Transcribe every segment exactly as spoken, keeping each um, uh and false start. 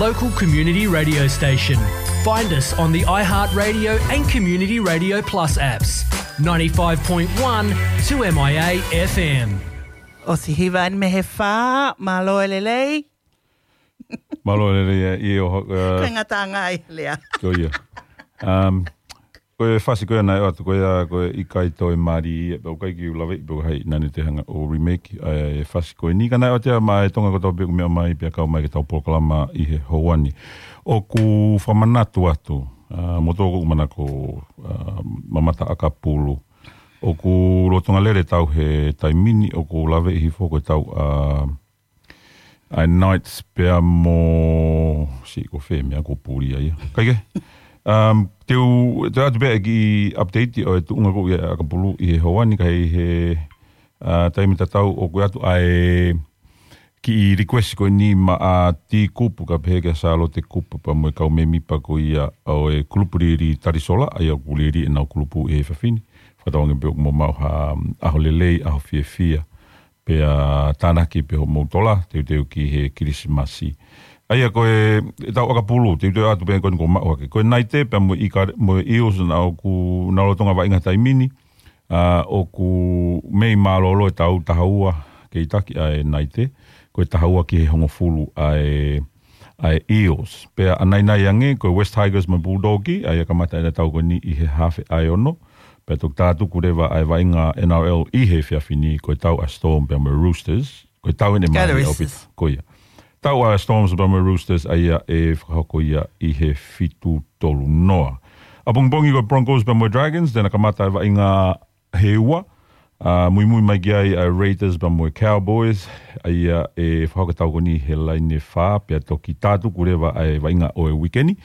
local community radio station. Find us on the iHeartRadio and Community Radio Plus apps. ninety-five point one two M I A F M. ʻOsi hiva eni mei he fā, mālō e lelei. Mālō e lelei, ʻio, uh, Ko e ngataʻanga ʻi he lea. Ko ia. Um, ko e fasi ko ia naʻe ʻoatu ko ia, ko e ʻikai toe mali, ʻe pau kai ki u lave, ʻe pau hai nani te hanga ʻo remake, ʻa e fasi ko eni ka naʻe ʻoatu ia maʻa e Tonga kotoa pē ʻoku meʻa mai pea kau mai ke tau polokalama ʻi he houa ni. ʻOku fakamanatu atu, uh, mo tōku manako, uh, mamata ʻakapulu. ʻOku lolotonga lele tau he taimi ni, ʻoku lave ʻi he foʻi ko e tau, uh, ʻa e Knights pea mo, si ko fē meʻa ko puli ai. Kaike, um, te u, te u ʻoatu pē ki update ʻo e tuʻunga ko ia ʻakapulu ʻi he houa ni ka ʻi he, uh, taimi tatau ʻoku ʻoatu ʻa e kiʻi request ko eni maʻa Tikupu ka pehē kia Sālote Kupu pea mo e kau mēmipa ko ia ʻo e kulupu lili Talisola, ʻa ia ʻoku lili ʻenau kulupu ʻi he efiafi ni. Fakatauange pē ʻoku mou maʻu ha, um, ʻaho lelei, ʻaho fiefia. Pea tānaki pē hoʻomou tola, teuteu ki he Kilisimasi. ʻA ia ko e, e tau ʻakapulu, teuteu atu pē ko eni ko maʻu hake. Ko e Naite, pea mo e ʻIka, mo e Eels, naʻa ʻoku, naʻa lolotonga vaʻinga taimi ni, uh, ʻoku mei mālōlō e tau taha ua kei taki ʻa e Naite, ko e taha ua ki he hongofulu ʻa e, ʻa e Eels. Pea ʻanainai ange, ko e West Tigers mo e Bulldog, ʻa ia kamata ʻena tau ko eni ʻi he hafe ʻa e ono, pea toki tātuku leva ʻa e vaʻinga N R L ʻi he efiafi ni ko e tau ʻa Storm pea mo e Roosters, ko e tau ʻene Ka mali Roosters. ʻAupito, ko ia. Tau ʻa Storms pea mo e Roosters ʻa ia ʻe fakahoko ia ʻi he fitu tolu noa. ʻApongipongi ko e Broncos pea mo e Dragons, te na kamata e vaʻinga he ua, uh, muimui mai ki ai ʻa e Raiders pea mo e Cowboys, ʻa ia ʻe fakahoko tau ko eni he laine fā, pea toki tātuku leva ʻa e vaʻinga ʻo e uike ni.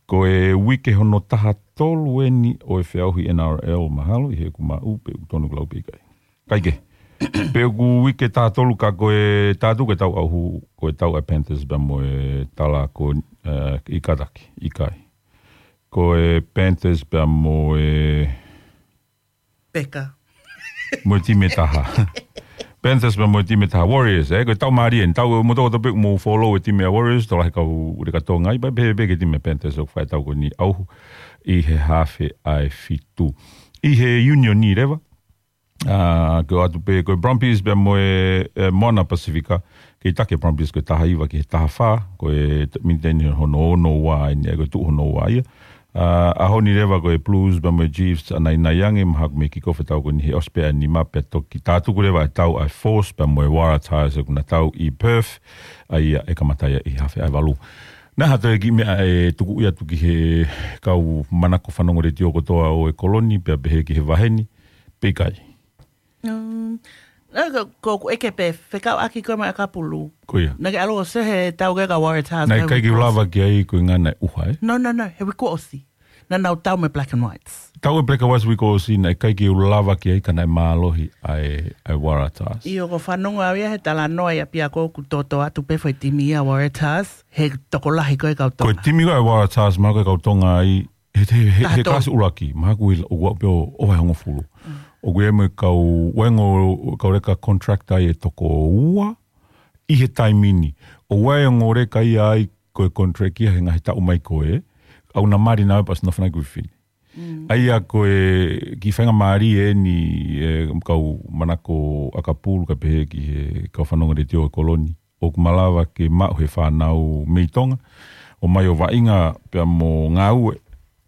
Ko e uike hono taha tolu eni ʻo e feʻauhi N R L mahalo, ʻi heʻeku maʻu, pe ʻoku tonu ke lau pe ʻikai. Kaike. Pe ʻoku uike taha tolu ka ko e tātuku e tau ʻauhu, ko e tau ʻa e Panthers pea mo e tala ko, uh, ʻIkataki, ʻikai. Ko e Panthers pea mo e Peka. Mo e timi ʻe taha. Panthers pea mo e timi ʻe taha. Warriors, eh? Ko e tau mali eni. Tau mo toko tope mo follow e timi ʻa Warriors, tola he kau ure ka tonga ai, pea pehē pē ki he timi ʻa Panthers ʻoku fai tau ko eni ʻauhu ʻi he hafe ʻa e fitu. ʻI he Union ni leva, uh, ko atu pē, ko e Brumbies pea mo e, e Moana Pasifika, kei taki e Brumbies ko e taha hiva ki he taha fā, ko e t-, miniti eni hono ono ua eni, ko e tuʻu hono ua ia. Uh, ʻaho ni leva ko e Blues pea mo e Chiefs ʻanainai ange, mahalo mei kick off e tau ko eni he ʻosi pē ʻa e nima pea toki tātuku leva e tau ʻa e Force pea mo e Waratahs ʻoku na tau ʻi Perth, ʻa ia ʻe kamata ia ʻi he hafe ʻa e valu. Naʻa ha toe kiʻi meʻa ʻe tuku ia atu ki he kau manako fanongo letiō kotoa ʻo e kolo ni, pea pehē ki he vahe ni, pe ʻikai. Um, naʻa ko, ko ʻeku ʻeke pē, fekauʻaki ko e mai ʻakapulu. Ko ia. Naʻa ke ʻalu ʻo sehe tau ke ka Waratahs Naʻe ka ʻikai ke u lava ki ai ko e ngana e ʻuha, eh? No, no, no, he uike ʻosi. Naʻa nau tau mo e Black and Whites. Tau e Black and Whites uike ʻosi, naʻe ʻikai ke u lava ki ai ka naʻe mālohi ʻa e, ʻa e Waratahs. ʻIo, ko e fanongo au ia he talanoa ia pea ko ʻeku toto atu pē foʻi timi ia Waratahs, he tokolahi ko e kau Ko e Tonga. timi ko e Waratahs, mahalo ko e kau Tonga ai, he, he, he, he Taha tolu. kalasi ʻuluaki, mahalo ko e ʻoku ʻaʻu pē ʻo, ʻo e hongofulu. Mm. ʻOku ʻi ai mo e kau, ʻi ai ongo kau leka contract ai ʻe toko ua, ʻi he taimi ni. ʻOku ʻi ai ongo leka ia ai ko e contract ia he ngaahi taʻu mai ko ē, ʻoku na mali naʻa pasi na fanai ko e fifini. Mm. ʻA ia ko e kiʻi faingamālie eni e kau manako ʻakapulu ka pehē ki he kau fanongo letiō e kolo ni. ʻOku malava ke maʻu he fānau mei Tonga, ʻo mai ʻo vaʻinga pea mo ngāue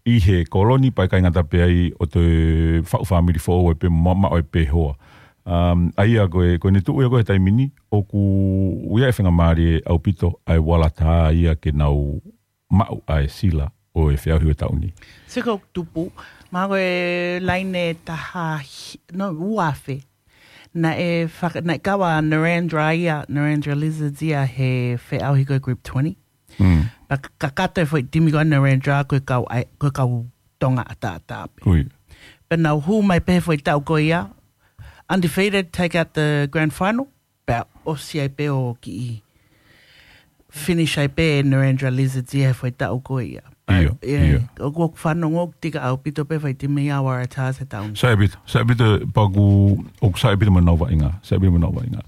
ʻi he kolo ni pea ʻikai ngata pē ai ʻo toe faʻu fāmili foʻou ai pē mo maʻu ai pē hoa. Um, ʻa ia ko e, ko ʻene tuʻu ia ko e taimi ni, ʻoku ʻi ai e faingamālie ʻaupito ʻa e Waratahs ia ke nau maʻu ʻa e sila ʻo e feʻauhi ʻo e taʻu ni. Siko tupu, mahalo ko e laine taha hi-, no, ua afe. Naʻe faka-, naʻe kava Narrandera ia, Narrandera Lizards ia he feʻauhi ko e Group twenty. Mm. Pea ka-, kakato e foʻi timi ko Narrandera ko e kau ai, ko e kau Tonga ʻataʻatā pē. Ko ia. Pea nau hū mai pē he foʻi taʻu ko ia, undefeated, take out the grand final. Pea ʻosi ai pē ʻo kiʻi finish ai pē Narrandera Lizards ia he foʻi taʻu ko ia. Pea, ʻIo, yeah, ʻio. ʻOku, ʻoku fanongo ʻoku tika ʻaupito pē foʻi timi ia Waratahs he taʻu ni. Sai ʻaupito, sai ʻaupito pea ʻoku, ʻoku sai ʻaupito mo nau vaʻinga, sai ʻaupito mo nau vaʻinga.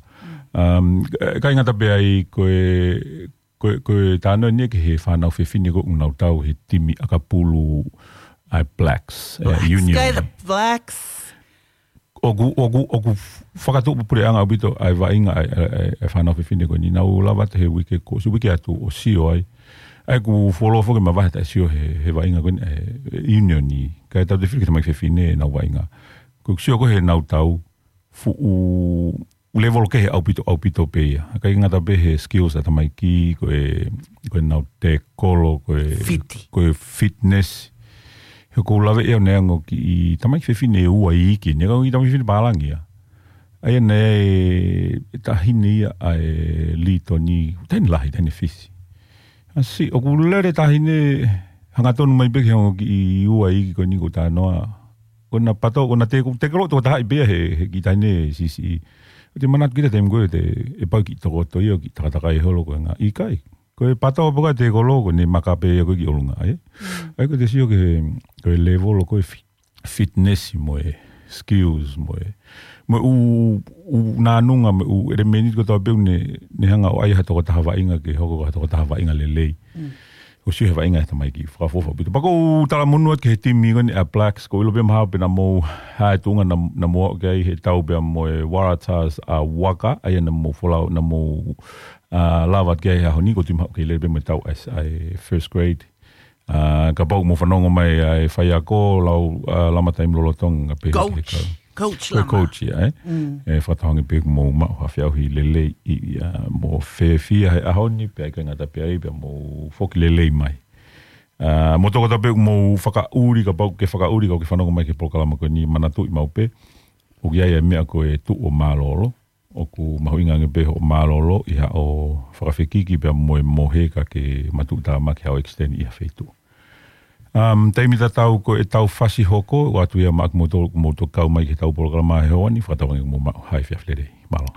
Um, ʻikai ngata pē ai ko e Ko e, ko e talanoa eni ki he fānau fefine ko ē ʻoku nau tau he timi ʻakapulu ʻa e Blacks, ʻa e Blacks, Union. Kai the Blacks. ʻOku, ʻoku, ʻoku fakatuʻupuleʻanga ʻaupito ʻa e vaʻinga ʻa e, ʻa e, ʻa e fānau fefine ko eni. Naʻa ku lava atu he uike ko, se uike atu ʻo sio ai. ʻA ia ʻoku fuoloa foki e mavahe ʻetau sio he, he vaʻinga ko eni, ʻa e Union ni. Kae tautefito ki he tamaiki fefine ʻenau vaʻinga. Ko ʻeku sio ko ē heʻenau tau, fuʻu level kehe ʻaupito, ʻaupito pē ia. ʻIkai ngata pē he skills ʻa e tamaiki, ko e, ko ʻenau tekolo, ko e, Fiti. Ko e fitness. He ʻoku ou lave ʻe au neongo kiʻi tamaiki fefine ʻe ua iiki, neongo kiʻi tamaiki fefine pālangi ia. ʻA ia naʻe taʻahine ia ʻa e Litoni, taʻahine lahi, taʻahine Fisi. ʻAsi, ʻoku lele taʻahine hangatonu mai pē ki he ongo kiʻi ua iiki ko eni ʻoku ou talanoa. Ko ʻena pato, ko ʻena te, tekolo tokotaha pē ia he, he kiʻi taʻahine siʻisiʻi. ʻOku te manatu ki he taimi ko ē te, ʻe pau kiʻi tokoto ia ʻo kiʻi takatakai holo ko e ngaahi ʻikai. Ko e pato pē ko e tekolo ko ʻene maka pē ia ko ē ki ʻolunga, ē? Mm. ʻA ia ko ʻete sio ki he, ko e level ko e fi-, fitness mo e skills mo e, mo e ʻū, ʻū nānunga mo e ʻū ʻelemēniti kotoa pē ʻoku ne, ne hanga ʻo ʻai ha tokotaha vaʻinga ke hoko ko ha tokotaha vaʻinga lelei. Mm. ʻOku sio he vaʻinga ʻa e tamaiki fakaʻofoʻofa ʻaupito. Pea ʻoku ou talamonū atu ki he timi ko eni ʻa e Blacks, ʻoku ou ʻilo pē mahalo pē naʻa mou, ʻa e tuʻunga naʻa, naʻa mou aʻu ki ai he tau pea mo e Waratahs ʻa Waka, ʻa ia naʻa mou folau, naʻa mou, ʻa, lava atu ki ai he ʻaho ni, ʻoku ou tui mahalo ʻoku kei lele pē mo e tau ʻa e, ʻa e first grade. ʻA, kapau ʻoku mou fanongo mai ʻa e faiako, lau, ʻa, Lama Taimi lolotonga pē he Coach. Kau. Coach Ko e Lama. Coach ia, ē? Mm. ʻE fakatauange pē ʻoku mou maʻu ha feʻauhi lelei ʻi, ʻa, mou fiefia he ʻaho ni, pea ʻikai ngata pē ai, pea mou foki lelei mai. ʻA, mo e tokotaha pē ʻoku mou fakaʻuli, kapau ʻoku ke fakaʻuli, kapau ʻoku ke fanongo mai ki he polokalama ko eni, manatuʻi maʻu pē, ʻoku ʻi ai e meʻa ko e tuʻu ʻo mālōlō, ʻoku mahuʻinga ange pē hoʻo mālōlō ʻi haʻo fakafekiki pea mo e mohe ka ke matuʻutāmaki haʻo extend ʻi ha feituʻu. Um, taimi tatau ko e tau fasi hoko, ʻoatu ia maʻa kimoutolu, ʻoku mou toki kau mai ki he tau polokalama he ʻaho ni, fakatauange ʻoku mou maʻu ha efiafi lelei. Mālō.